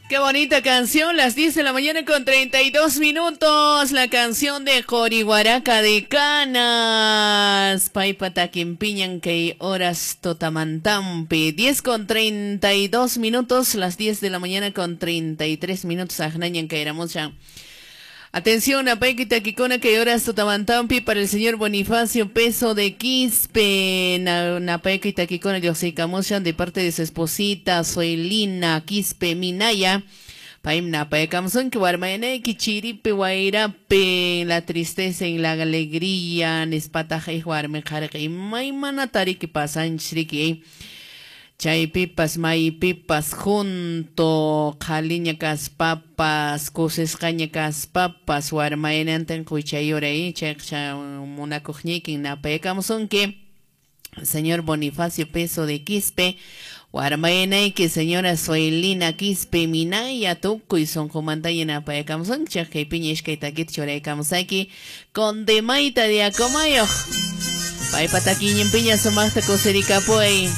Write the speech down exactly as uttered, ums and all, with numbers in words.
Qué bonita canción, las diez de la mañana con treinta y dos minutos, la canción de Corihuaraca de Canas, Paipataquimpiñan que horas totamantampi, diez con treinta y dos minutos, las diez de la mañana con treinta y tres minutos, Ajnañan Kairamusha. Atención, a Paikita Kikona que horas totamantampi para el señor Bonifacio Peso de Quispe, Napaikita Kikona Yosikamushan de parte de su esposita Soelina Quispe Minaya. Paim Napaikamsun que warmayaneki chiripe guairape, la tristeza en la alegría, nespataja y warme jarque y maimana tariki pasanchriki. Chaypipas, maypipas, junto, qhaliña kaspapas, kusisqaña kaspapas, warmayanantin quychayuray, chayqa munakuqñiykin napaykamusunki, señor Bonifacio Peso de Quispe, warmayanayki señora Soelina Quispe Minaya, tukuy sunqumantalla napaykamusunki, chaypiña iskay takita churaykamusayki, con demayta de Acomayoq, paypa takiñinpiña sumaqta kusirikapuy.